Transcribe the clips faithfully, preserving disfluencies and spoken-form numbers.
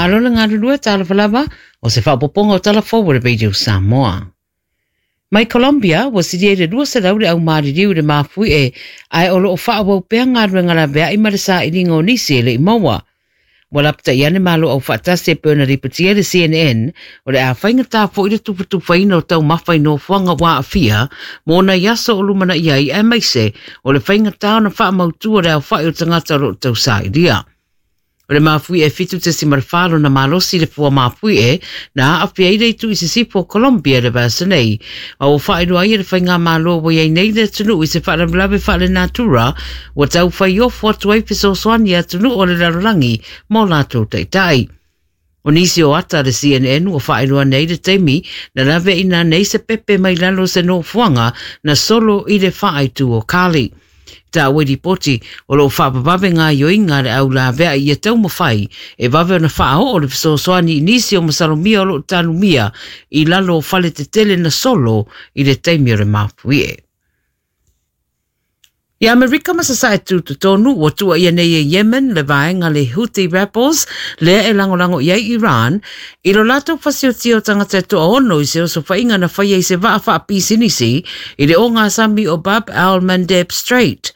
Malo le galulue talofa lava o se faaopoopoga o Tala Fou o le Radio Samoa. Mai Colombia, ua silia i le lua selau le au maliliu i le mafuie, ae o loo faaauau pea galuega laveai ma le sailiga o nisi e le i maua. Ua lapatai ane Malo Aufaatasi e pei ona lipotia le C N N, o le a faigata foi le tufatufaina o taumafa i nofoaga ua aafia mo nai aso o lumanai ai aemaise o le faigata ona faamautua le aofai o tagata o loo tausailia. O le mafui e fitu tesi marfalo na malosi le fua mafui e na aafia i le itu i sisifo o Colombia le vasa nei. Ma ua faailoa ai e le faigamalo ua iai nei le atunuu i se faalavelave faalenatura ua taufai ofo atu ai fesoasoani i atunuu o le lalolagi mo latou taitai. O nisi o ata le C N N ua faailoa nei le taimi na laveaina nei se pepe mai lalo se nofoaga na solo i le faaitu o Cali. Taua i ripoti o loo faavavave gaoioiga a le au laveai ia taumafai e vave ona faaoo le fesoasoani i nisi o masalomia o loo tanumia i lalo o fale tetele na solo i le taimi o le mafuie. I Amerika ma sasae tutotonu ua tuuaia nei e Yemen le vaega le Houthi Rebels lea e lagolago i ai Iran i lo latou fasiotia o tagata e toaono i se osofaiga na faia i se vaa faapisinisi i le ogasami o Bab al-Mandeb Strait.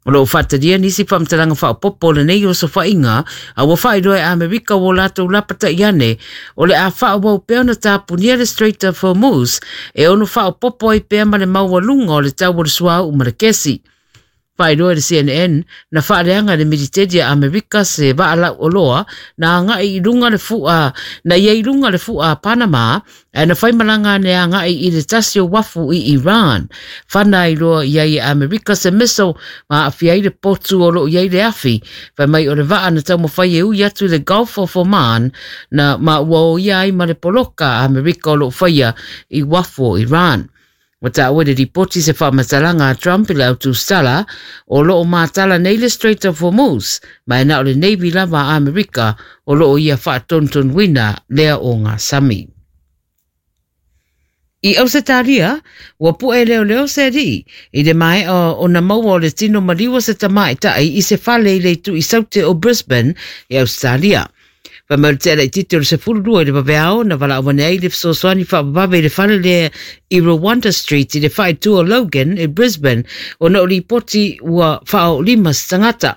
O loo faatalia nisi faamatalaga faaopoopo o lenei osofaiga a ua faailoa e Amerika ua latou lapatai ane o le a faaauau pea ona tapunia le Strait of Hormuz e ono faaopoopo ai pea ma le maualuga o le tau o le suauu ma le kesi. Faailoa e le C N N na faaleaga e le militeli a Amerika se vaa lauoloa na agai i luga le fua na ia i luga le fua a Panama ae na faimalaga ane agai i le tasi o wafu i Iran. Fana ai loa i ai e Amerika se missile ma aafia ai le potu o loo i ai le afi. Fai mai o le vaa na taumafai e ui atu i le Gulf of Oman na ma ua oia ai ma le poloka a Amerika o loo faia i wafu o Iran. Ua taua i le ripoti se faamatalaga a Trump i le autusala o loo matala nei le Strait of Hormuz ma e na o le Navy lava a Amerika o loo ia faatonutonuina lea o gasami. I Ausetalia, ua pu'e leoleo se alii i le maea ona maua o le tino maliu o se tamaitai i se fale i le itu i saute o Brisbane i Ausetalia. Fai mai o le tea laitiiti o le sefulu lua i le vaveao na valaau ane ai le fesoasoani faavavave i le fale lea i Rwanda Street i le faaitu o Logan i Brisbane ona o lipoti ua faaoolima se tagata.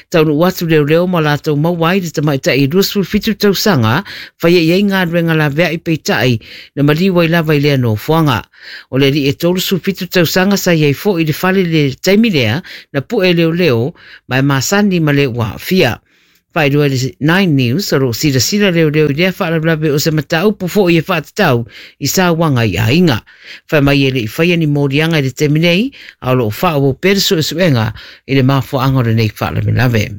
Taunuu atu leoleo ma latou maua ai le tamaitai i luasefulu fitu tausaga faia i ai galuega laveai peitai na maliu ai lava i lea nofoaga. O le alii e tolusefulu fitu tausaga sa i ai foi i le fale i le taimi lea na pu'e leoleo ma e masani ma le ua aafia. Faailoa i le Nine News o loo silasila leoleo i lea faalavelave o se mataupu foi e faatatau i sauaga i aiga. Fai mai e le i faia ni moliaga i le taimi nei a o loo faaauau pea le suesuega i le mafuaaga o lenei faalavelave.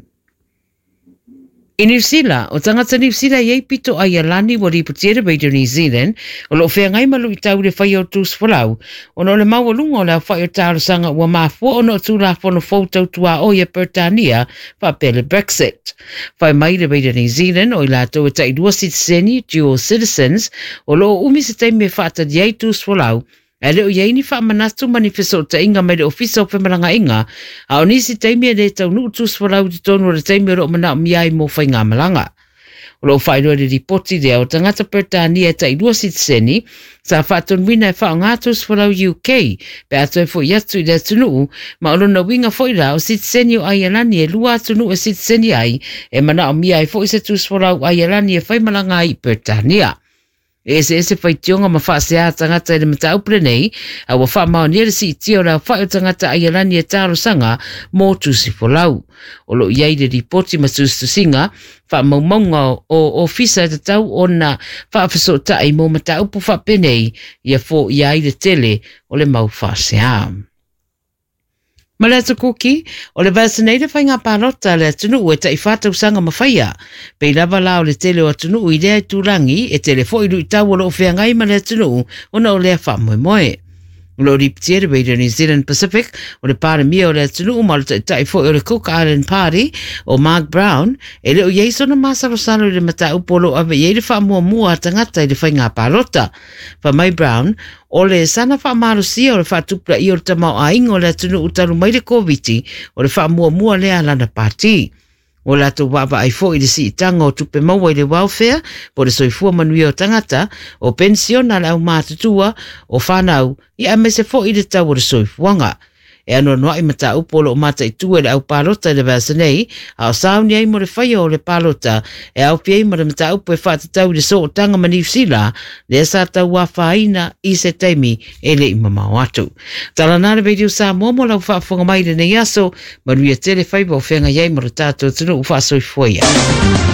I New Zealand, o tagata New Zealand i ai pito Aialani ua lipotia le Radio New Zealand o loo feagai ma luitau i le faia o tusifolau ona o le maualuga o le aofai o talosaga ua mafua ona o Tulafono fou tautuaoi e Peretania faapea le Brexit. Fai mai le Radio New Zealand o i latou e tailua sitiseni, dual citizens, o loo umi se taimi e faatali ai tusifolau ae le o i ai ni faamanatu ma ni fesootaiga mai le Ofisa o Femalagaaiga a o nisi taimi e le taunuu tusifolau i totonu o le taimi o loo manaomia ai mo faigamalaga. O loo faailoa i le ripoti lea o tagata Peretania e tailua sitiseni sa faatonuina e faaaoga tusifolau U K pe a toe foi atu i le atunuu ma o lona uiga foi la o sitiseni o Aialani e lua atunuu e sitiseni ai e manaomia ai foi se tusifolau Aialani e faimalaga ai i Peretania. E eseese faitioga ma faasea tagata i le mataupu lenei a ua faamaonia le siitia o le aofai o tagata Aialani e talosaga mo tusifolau. O loo i ai le ripoti ma tusitusiga faamaumauga o ofisa e tatau ona faafesootai mo mataupu faapenei ia foia ai le tele o le mau faasea. Ma le atu kuki, o le vasa nei le faiga palota a le atunuu e taifā tausaga ma faia. Pei lava la o le tele o atunuu i lea itulagi e tele foi luitau o loo feagai ma le atunuu ona o lea faamoemoe. O loo lipotia le Radio New Zealand Pacific o le palemia o le atunuu ma o le taitai foi o le Cook Island Party o Mark Brown e le o i ai sona masalosalo i le mataupu o loo ave i ai le faamuamua a tagata i le faiga palota. Fai mai Brown, o le sana faamalosia o le faatupulaia o le tamaoaiga o le atunuu talu mai le Koviti o le faamuamua lea a lana pati. O latou vaavaai foi i le siitaga o tupe maua i le welfare po le soifua manuia o tagata, o penisiona a le aumatutua, o fanau, ia aemaise foi le tau o le soifuaga. E anoanoai mataupu o loo mataitu e le au palota i le vaiaso nei, a o sauni ai mo le faia o le palota e aofia ai ma le mataupu e faatatau i le sootaga ma Niu Sila, lea sa tauafaina i se taimi e le i mamao atu. Tala na le Radio Samoa mo lau faafofoga mai i lenei aso, manuia tele faiva o feagai ai ma lo tatou atunuu faasoifua ia.